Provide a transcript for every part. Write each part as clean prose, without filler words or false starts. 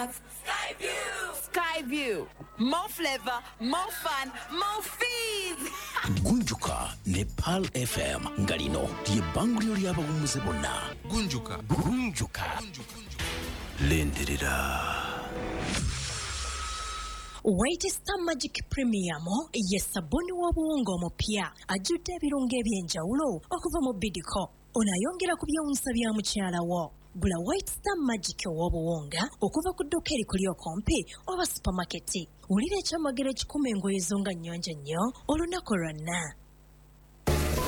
have Skyview. Skyview. More flavor, more fun, more fees. Gunjuka ne Pearl FM nga lino lyebbanguliro ly'abawummuze bonna. Gunjuka. Gunjuka. Lindirira. White Star Magic Premium ye sabuni w'obuwunga omupya ajjudde ebirungo eby'enjawulo okuva mu Bidco. Ono ayongera ku byewuunyisa bya mukyala wo. Gula White Star Magic ow'obuwunga okuva ku dduuka erikuli okumpi oba supamaketi. Wulira ekyamagero ekikuma engoye zo nga nnyonjo nnyo olunaku lwonna.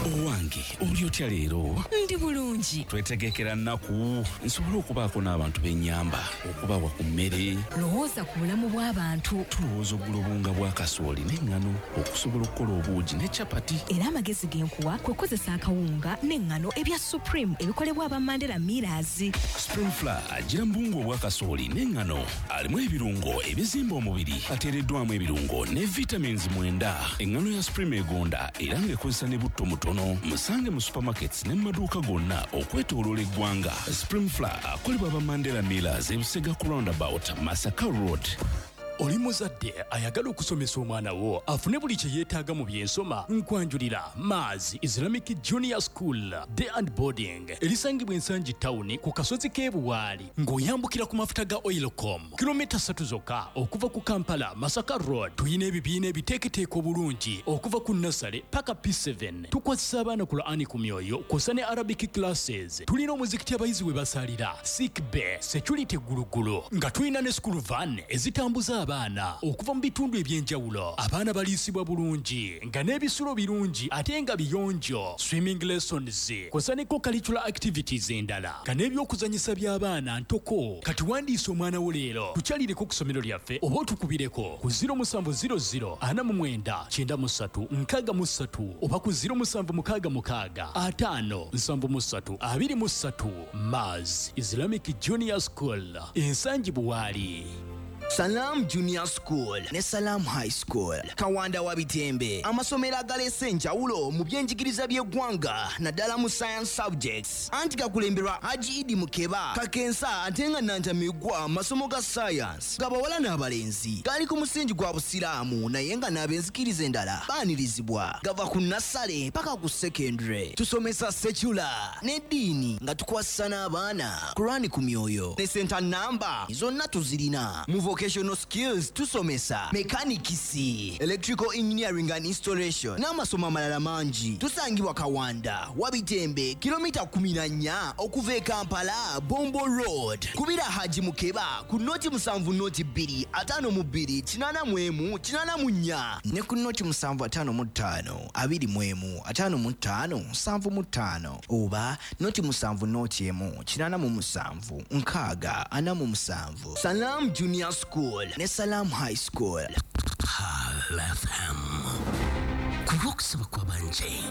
Owange, oli otya leero? Ndi bulungi. Twetegekera nnaku nsobole okubaako n'abantu b'ennyamba, okubawa ku mmere. Lowooza ku bulamu bw'abantu. Tulowooza okugula obuwunga bwa kasooli n'eŋŋano okusobola okukola obuugi ne capati. Era amagezi ge nkuwa kwe kukozesa akawunga n'eŋŋano ebya Supreme ebikolebwa aba Mandela Millers. Supreme Flour agira mu buwunga obwa kasooli n'eŋŋano, alimu ebirungo ebizimba omubiri, ateereddwamu ebirungo ne vitamins 9. Eŋŋano ya Supreme egonda era ng'ekozesa ne butto mutono. Musange mu supermarkets ne mu maduuka gonna okwetooloola eggwanga. Supreme Flour akolebwa aba Mandela Millers, Ebusega ku roundabout, Masaka Road. Oli muzadde ayagala okusomesa omwana wo afune buli kye yeetaaga mu byensoma? Nkwanjulira Mars Islamic Junior School Day and Boarding erisangibwa Ensangi Town ku kasozi k'e Buwaali ng'oyambukira ku mafuta ga Oilcom, kilomita 3 zokka okuva ku Kampala Masaka Road. Tuyina ebibiina ebiteeketeeka obulungi okuva ku nursery paka P7. Tukwasisa abaana Qur'ani ku myoyo kw'ossa ne Arabic classes. Tulina omuzikiti abayizi we basalira, sick bay, security gulugulu, nga tulina ne school van ezitambuza abaana okuva mu bitundu eby'enjawulo. Abaana baliisibwa bulungi nga n'ebisulo birungi ate nga biyonjo, swimming lessons kw'ossa ne co-curricular activities endala, nga n'ebyokuzanyisa by'abaana ntoko. Kati wandiisa omwana wo leero, tukyalireko ku ssomero lyaffe oba otukubireko ku 0700 49 93 63 oba ku 0766 5 73 23. Mars Islamic Junior School, Ensangi Buwaali. Salam Junior School ne Salam High School, Kawanda wa Bitembe, amasomero agaleese enjawulo mu byenjigiriza by'eggwanga naddala mu science subjects, anti gakulemberwa Haji Idi Mukeba Kakensa ate nga Nantamigwa. Masomo ga science gabawala n'abalenzi gali ku musingi gwa Busiraamu, naye nga n'ab'enzikiriza endala baanirizibwa. Gava ku nursery paka ku secondary. Tusomesa secular n'eddiini nga tukwasisa n'abaana Kurani ku myoyo, ne center namba zonna tuzirina. Mu vocational skills tusomesa mechanics, electrical engineering and installation n'amasomo amalala mangi. Tusangibwa Kawanda Wabitembe, kilomita 14 okuva e Kampala, Bombo Road. Kubira Haji Mukeba ku 0 7 0 2 52 81 84 ne ku 0 7 55 21 55 75 oba 0 7 0 1 87 60 47. Salam Junior School ne Salam High School. Pearl FM, ku lw'okusaba kw'abangi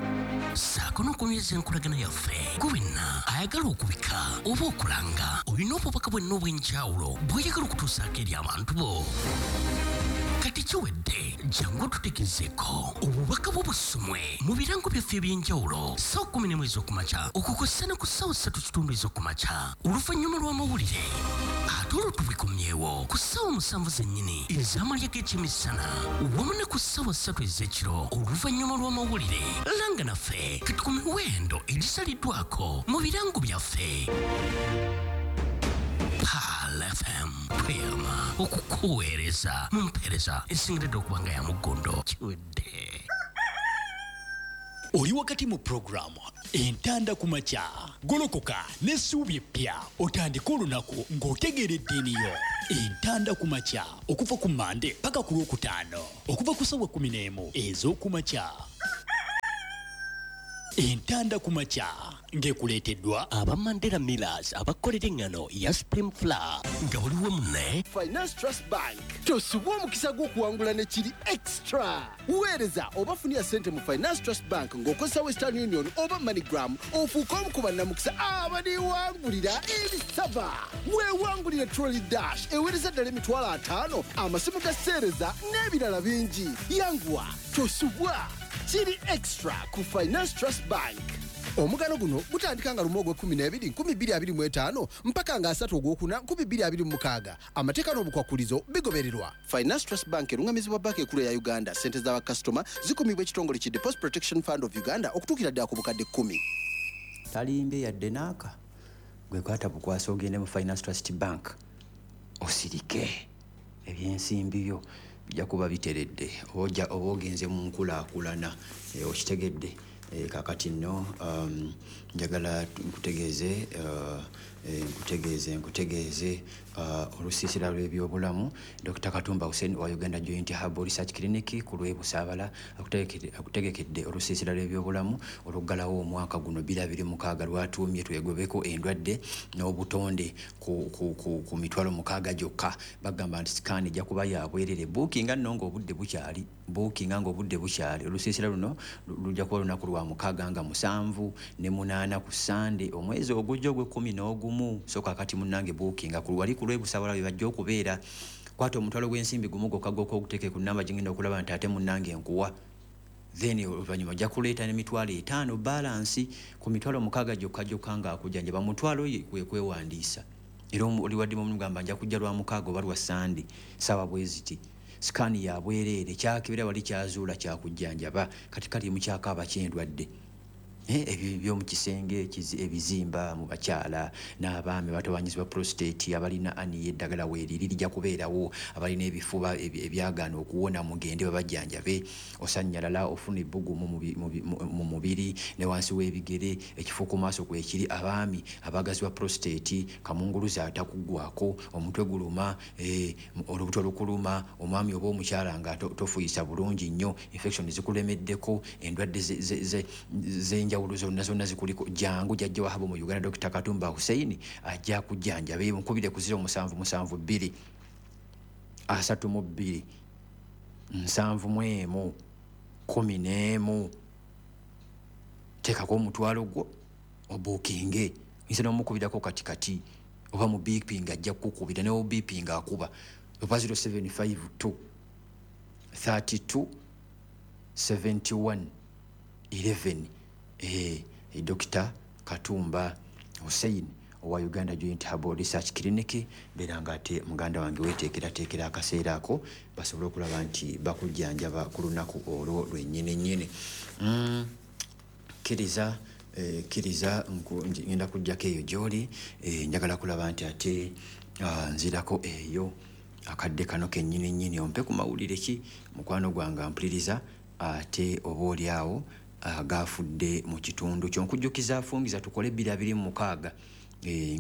ssaako n'okunyweza enkolagana yaffe, gwe wenna ayagala okubika oba okulanga, olina obubaka bwenna obw'enjawulo bw'oyagala okutuusaako eri abantu bo, kati kiwedde. Jangu otutegezeeko obubaka bwo busomwe mu birango byaffe ebyenjawulo ssaawa 11 ez'okumakya okukossa ne ku ssaawa 3:15 ez'okumakya oluvannyuma lw'amawulire, ate olwo tubikomyewo ku ssaawa 7 zennyini ez'amalya g'ekyemisana wamu ne ku ssaawa 3 ez'ekiro oluvannyuma lw'amawulire. Langa naffe kati ku miwendo egisaliddwako mu birango byaffe. Pearl FM, tweyama okukuweereza mu mpeereza esingiridde okuba nga ya muggondo. Kiwedde. Oli wakati mu puroguramu Entanda ku Makya. Golokoka n'essuubi eppya, otandike olunaku ng'otegeera eddiini yo. Entanda ku Makya, okuva ku Mande paka ku Lwokutaano, okuva ku ssaawa 11 ez'okumakya. Entanda ku Makya ng'ekuleeteddwa aba Mandela Millers abakolera eŋŋano ya Supreme Flour nga buli wamu ne Finance Trust Bank. Tosubwa omukisa gw'okuwangula ne kiri extra. Weereza oba funira ssente mu Finance Trust Bank ng'okozesa Western Union oba MoneyGram, ofuuke omu ku bannamukisa abaliwangulira ebisaba. Weewangulire trolley dash eweereza ddala 50,000, amasimu ga seereza n'ebirala bingi. Yanguwa, tosubwa, kiri extra ku Finance Trust Bank. Omugano guno gutandika nga 1 ogw'e12 2025 mpaka nga 3 ogwokuna 2026. Amateeka n'obukwakulizo bigobererwa. Finance Trust Bank erungamizibwa banka enkulu ya Uganda. Ssente z'abakasitoma zikumibwa ekitongole ki Deposit Protection Fund of Uganda okutuukira ddala ku bukadde 10. Talimbye yadde naaka. Gwe kwata bukwasa ogende mu Finance Trust Bank osirike, ebyensimbi byo bijja kuba biteredde, oba ogenze mu nkulaakulana, okitegedde. Kakati nno njagala nkutegeeze nkutegeeze olusiisira lw'ebyobulamu. Dr Katumba Hussein wa Uganda Joint Herbal Research Clinic ku lw'e Busaabala akutegekedde olusiisira lw'ebyobulamu oluggalawo omwaka guno 2026 lwatuumye twegobeko endwadde n'obutonde ku mitwalo 6 gyokka. Bagamba nti sikaani ejja kuba ya bwerere, buukinga nno ng'obudde bukyali, buukinga ng'obudde bukyali. Olusiisira luno lujja kuba lunaku lwa 6 nga 7 ne 8 ku Sande omwezi ogujja ogw'e11. So kakati munnange buukinga ku wali ku lw'e Busaabala bwe bajja okubeera. Kwata omutwalo gw'ensimbi gumu gwokka gwokka oguteeke ku nnamba gye ngenda okulaba nti ate munnange nkuwa, then oluvannyuma ojja kuleeta n'emitwalo 5 balansi ku mitwalo 6 gyokka gyokka ng'akujjanjaba. Mutwalo kwe kwewandiisa, era oli wadde mugamba nja kujja lwa 6 oba lwa Sande ssaawa bwe ziti. Sikaani ya bwereere, kyakebera wali kyazuula kyakujjanjaba. Kati kali mukyakaaba ky'endwadde ebyo by'omu kisenge, ebizimba mu bakyala n'abaami batawanyizibwa prostate, abalina ani eddagala weeriri lijja kubeerawo, abalina ebifuba ebyagaana okuwona mugende babajjanjabe. Osannyalala, ofuna ebbugumu mu mubiri ne wansi w'ebigere, ekifo ku maaso kwekiri. Abaami abagazibwa prostate, kamunguluze atakuggwako, omutwe guluma, olubuto lukuluma, omwami oba omukyala nga tofuyisa bulungi nnyo, infection zikulemeddeko, endwadde z'enjawulo zonna zonna zikuliko. Jangu jjajja Wahabo mu Uganda Dr Katumba Hussein ajja kujjanjaba. Mukubire ku 0772 32 71 11. Teekako omutwalo gwo obuukinge, oyinza n'omukubirako kati kati oba mu biipinga ajja kukukubira, ne obiipinga akuba oba 0752 32 71 11. Dr Katumba Hussein owa Uganda Joint Herbal Research Clinic. Beera nga ate muganda wange weeteekerateekera akaseera ako basobole okulaba nti bakujjanjaba ku lunaku olwo lwennyini nnyini. Kkiriza kkiriza, ngenda kujjako eyo gy'oli. Njagala kulaba nti ate nzirako eyo akadde kano kennyini nnyini, ompe ku mawulire ki mukwano gwange ampuliriza ate oba oli awo agafudde mu kitundu kyo. Nkujjukiza afungiza tukole 2026,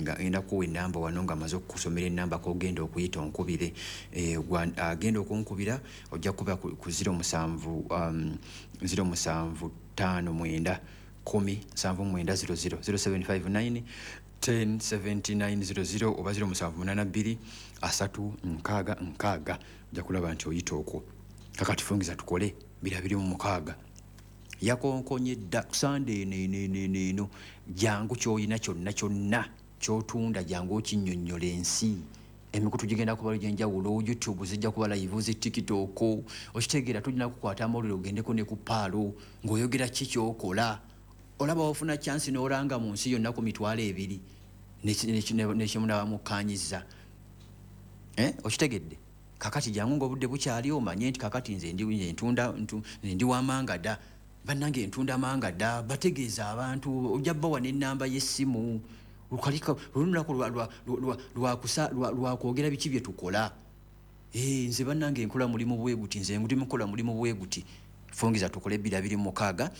nga ngenda kuwa ennamba wano nga maze okukusomera ennamba k'ogenda okuyita onkubire. Agenda okunkubira ojja kuba ku 07 07 59 10 79 00, 0759 10 79 00 oba 0782 3 6 6. Ojja kulaba nti oyita okwo. Kakati fungiza tukole 2026. Yakonkonye dda Sande eno eno eno eno. Jangu ky'olina kyonna kyonna ky'otunda, jangu okinnyonnyola ensi. Emikutu gigenda kuba gy'enjawulo, YouTube zijja kuba live, zi TikTok, okitegeera. Tulina kukwata amawulire ogendeko ne ku paalo ng'oyogera ki ky'okola. Olaba wafuna chance n'olanga mu nsi yonna ku mitwalo 2 nekimunaba mukkaanyizza. Okitegedde? Kakati jangu ng'obudde bukyali, omanye nti kakati nze ntunda, ndi wamanga dda, bannange ntunda manga dda. Bategeeza abantu, ojja bawa n'ennamba y'essimu. Olunaku lwakwogera biki bye tukola. Nze bannange nkola mulimu bwe guti, nze ndi mukola mulimu bwe guti. Fungiza tukole 2026.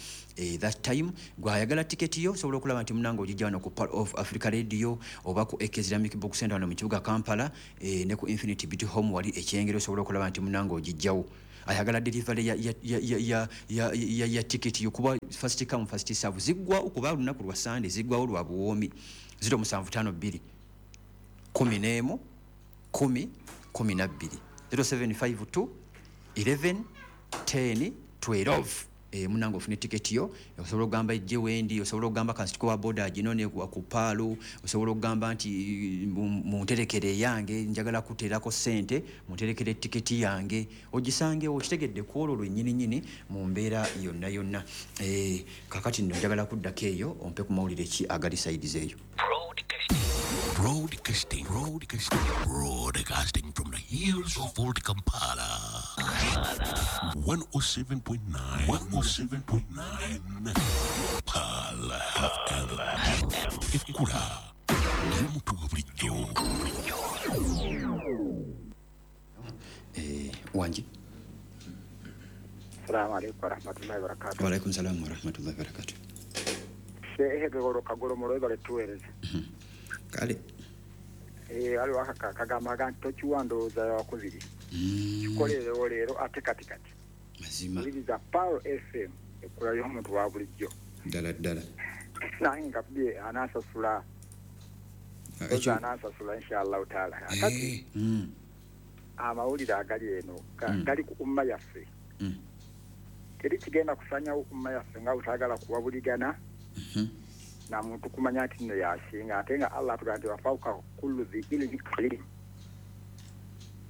That time gwayagala tiketi yo osobola okulaba nti munange ogijja wano ku Pearl of Africa Radio oba ku AK Islamic Book Center wano mu kibuga Kampala, ne ku Infinity Beauty Home wali ekyengero, osobola okulaba nti munange ogijjawo. Ayagala delivery ya tiketi yo, kuba first come first serve, ziggwawo kuba lunaku lwa Sande, ziggwawo lwa buwoomi. 0752 11 10 12, 0752 11 10 12. Munange ofune tiketi yo, osobola okugamba ejje wendi, osobola okugamba kansituko wa boda ginone ku paalo, osobola okugamba nti munterekere yange, njagala kuteerako ssente, munterekere tiketi yange, ogisangewo okitegedde ku olwo lwennyini nnyini mu mbeera yonna yonna. Kakati nno njagala kuddako eyo ompe ku mawulire ki agali sayidizi eyo. Broadcasting, broadcasting, broadcasting from the hills of Old Kampala. 107.9, 107.9. Pala FM. Ekura. Y'omuntu wa bulijjo. Wangi. Assalamu alaikum warahmatullahi wabarakatuh. Wa alaikum salam warahmatullahi wabarakatuh. Shehe Goro Kagoro Moroe baletuweereza. Kale. Waliwo akagamba aga nti tokiwa ndowooza yakubiri. Kikolerewo leero ate kati kati. Mazima. Wuliriza Pearl FM ekkula y'omuntu wa bulijjo. Ddala ddala. Nange nkakubye anansasula. Anansasula inshallah taala. Kati amawulire agali eno gali ku umma yaffe. Teri kigenda kusanyawo umma yaffe nga butaagala kuwabuligana. Na muntu kumanya nti nno yasinga ate nga Allah atugamba nti wafauka kullu dhi ilmin alim.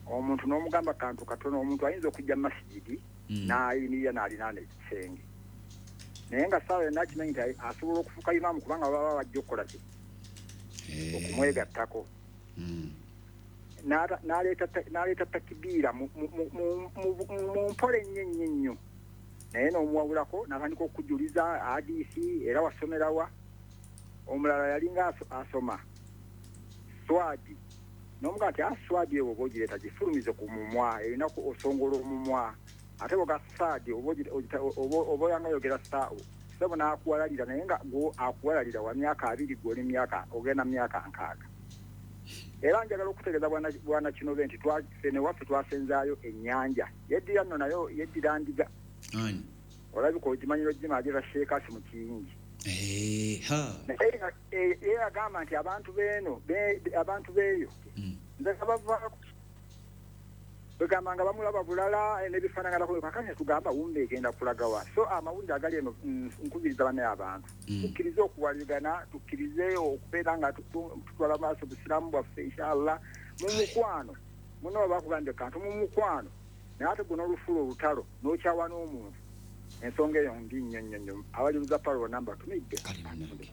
Omuntu n'omugamba kantu katono, omuntu ayinza okujja mu masigidi n'ayimirira n'alinaana ekisenge, naye nga ssaawa yonna akimanyi nti asobola okufuuka imaamu kubanga baba bajja okukola ki okumwegattako. N'aleeta takibiira mu mpola ennyo ennyo ennyo, naye n'omuwabulako n'atandika okujuliza hadisi era wasomerawa. Omulala yalinga asoma swadi n'omugamba nti swadi eyo oba ogireeta gifulumize ku mumwa, erina osongola omumwa, ate bwoga saadi oba oyanga oyogera saawo sebo n'akuwalalira, naye nga gwo akuwalalira wa myaka 20 gw'oli myaka ogenda myaka 60. Era njagala okutegeeza bwana Kinobe nti ffe newaffe twasenzaayo ennyanja yeddira nno nayo yeddira ndiga. Olabika ogimanyira ogimaagira Sheekasi mu kiyingi. Ye agamba nti abantu beeno abantu beeyo nze bavaako begamba nga bamulaba bulala n'ebifaanangalako kakati tugamba wumba egenda kulagawa. So amawulire agali eno nkubiriza bannaye abantu tukkirize okuwaligana, tukkirize okubeera nga tutwala maaso busiraamu bwaffe inshallah mu mukwano. Muno bakugambye kantu mu mukwano, naye ate guno olufuula olutalo n'okyawa n'omuntu. Ensonga eyo mbi nnyo nnyo nnyo. Abalibuza Pearl namba tumidde. Kale munnange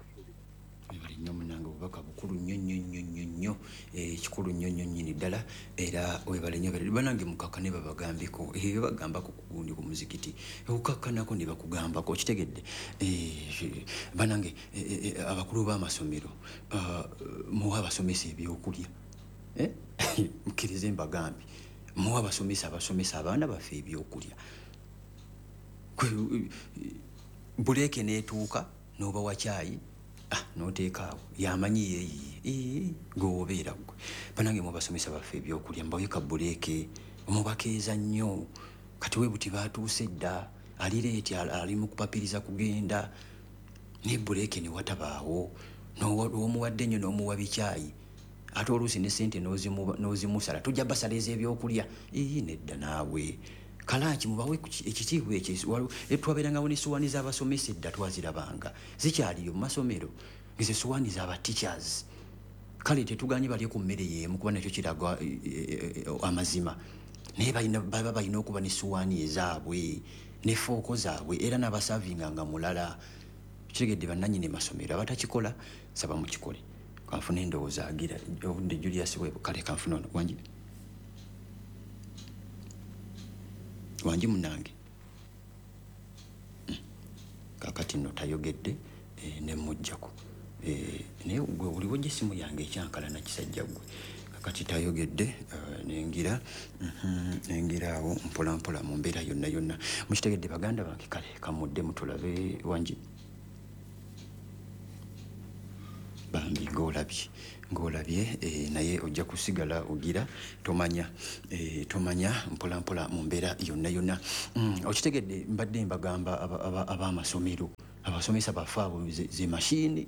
webale nnyo munnange, obubaka bukulu nnyo nnyo nnyo nnyo nnyo, kikulu nnyo nnyo nnyini ddala, era webale nnyo. Bannange mukakkane babagambeko ebyo bagambako ku gundi ku muzikiti, okukakkanako ne bakugambako, okitegedde. Bannange abakulu b'amasomero muwe abasomesa ebyokulya, mukkirize mbagambe, muwe abasomesa abasomesa abaana baffe ebyokulya. Buleeke n'etuuka n'obawa caayi n'oteeka awo yamanyi yeeyiye gwe obeera ggwe. Bannange mubasomesa baffe ebyokulya, mubawe ka buleeke, mubakeeza nnyo. Kati we buti baatuuse dda, alireeti ali mu kupapiriza kugenda, naye buleeke ne watabaawo, n'omuwadde nnyo n'omuwa bikyayi, ate oluusi ne ssente n'ozimusala, tujja basala ez'ebyokulya. Nedda naawe. Kalaki mubawe ekitiibwa ekyo. Twabeerangawo n'essowaani z'abasomesa edda, twazirabanga zikyaliyo mu masomero, ezo essowaani z'aba teachers. Kale tetuganye balye ku mmere y'emu kuba nakyo kiraga amazima, naye baba balina okuba n'essowaani ezaabwe ne fooko zaabwe, era n'abasaavinga nga mulala. Kitegedde bannannyini masomero abatakikola saba mukikole. Kanfune endowooza agira obudde Julius Webo. Kale kanfune ono wangi wangi munnange. Kakati nno tayogedde ne mmuggyako, naye gwe oliwo gye essimu yange ekyankalana kisajja ggwe. Kakati tayogedde, nengira awo mpola mpola mu mbeera yonna yonna. Mukitegedde baganda bange. Kale kamudde mutulabe wangi bambi ng'olabye naye ojja kusigala ogira tomanya tomanya mpola mpola mu mbeera yonna yonna. Okitegedde mbadde mbagamba ab'amasomero abasomesa baffe abo ze mashini.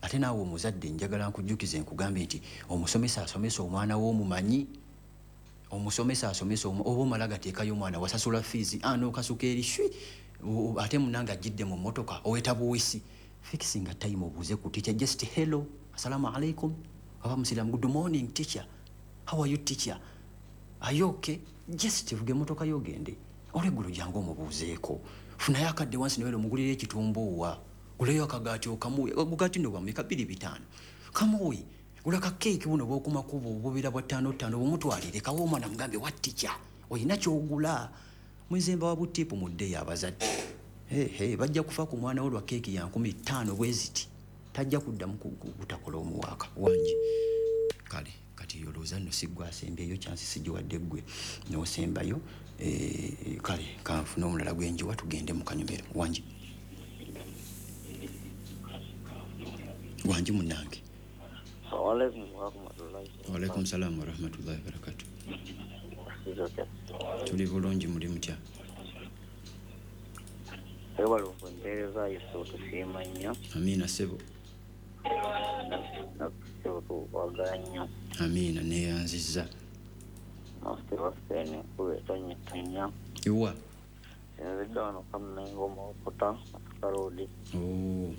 Ate naawe omuzadde njagala nkujjukize nkugambe nti omusomesa asomesa omwana w'omumanyi, omusomesa asomesa oba omala gateekayo omwana wasasula fiizi n'okasuka eri shwi Ate munange ajjidde mu mmotoka oweta buwisi. Fixing a time obuuze ku teacher, just hello, assalamu alaikum, aba musiramu, good morning teacher, how are you teacher, are you okay? Just vuga emmotoka yogende olweggulo jangu omubuuzeeko. Funayo akadde wansi newera omugulira ekitumbuuwa, guleyo akagaati okamuwe, ogugaati nno bwameka 2.5 kamuwe, gula ka keeki buno bw'okumakubo obubeera bwa 5.5 bumutwalire kawe omwana mugambe wa teacher olina ky'ogula. Mwezemba wa butipu muddeyo abazadde. Hey, bajja kufa ku mwana wo lwa keeki ya 5,000 bwe ziti, tajja kuddamu kutakola omuwaaka wangi. Kale kati olowooza nno si ggwe asembyeyo, kyansi sigiwadde ggwe n'osembayo. Kale kanfune omulala gwenjiwa tugende mu kanyomero. Wangi wangi munnange. Waalaikum salaam warahmatullahi wabarakatuh. Tuli bulungi, muli mutya? Amiina ssebo. Amiina, neeyanzizza. Iwa? Oh.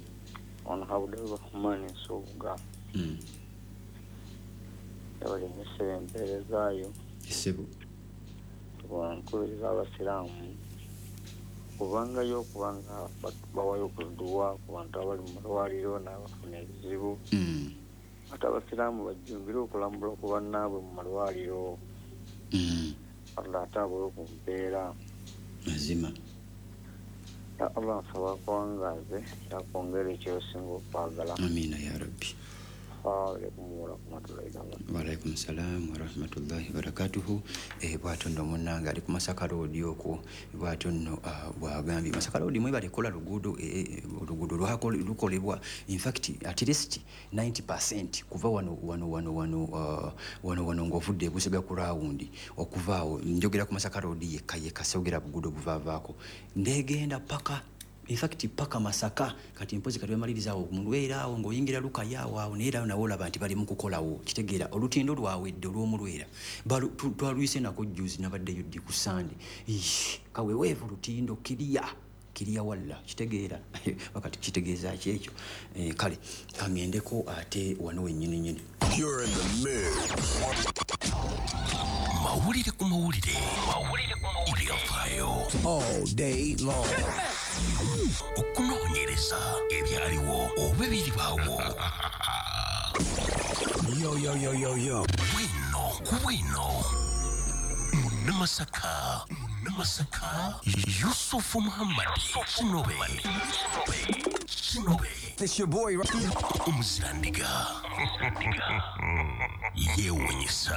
Ssebo. Nkubiriza abasiraamu kubangayo okubanga bawayo okuduwa ku bantu abali mu malwaliro n'abafuna ebizibu. Ate abasiraamu bajjumbire okulambula ku bannaabwe mu malwaliro. Allah ate abole ku mpeera. Mazima. Ya Allah nsaba akuwangaaze yakwongera ekyosinga okwagala. Amiina ya Rabbi. Waalaikum salam warahmatullahi wabarakatuhu. Bwatyo nno munnange ali ku Masaka Road okwo, bwatyo nno bwagambye Masaka Road mwebale kola luguudo, oluguudo lukolebwa in fact at least 90% kuva wano wano wano wano wano wano ng'ovudde Busiga ku rawundi okuva awo njogera ku Masaka Road yekka yekka, sogera buguudo buvaavaako ndegenda paka in fact paka Masaka. Kati mpozi kati bamaliriza awo mulwera awo ng'oyingira Lukaya awo awo naye era nawe olaba nti bali mu kukolawo. Kitegeera olutindo lwawedde olw'omulwera twaluyise nako jjuzi, nabaddeyo ddi ku Sande. Kaweweevu lutindo kiriya kiriya walla, kitegeera wakati kitegeeza ki ekyo? Kale kaŋŋendeko ate wano wennyini nnyini. You're in the mix. Mawulire ku mawulire, ebyafaayo all day long. Okunoonyereza ebyaliwo oba ebiribaawo. Yo, yo, yo, yo, yo. Bwino ku bwino. Munnamasaka, Munnamasaka, Yusufu Muhammad Kinobe. Kinobe. It's your boy Omuzirandiga. Yeewuunyisa.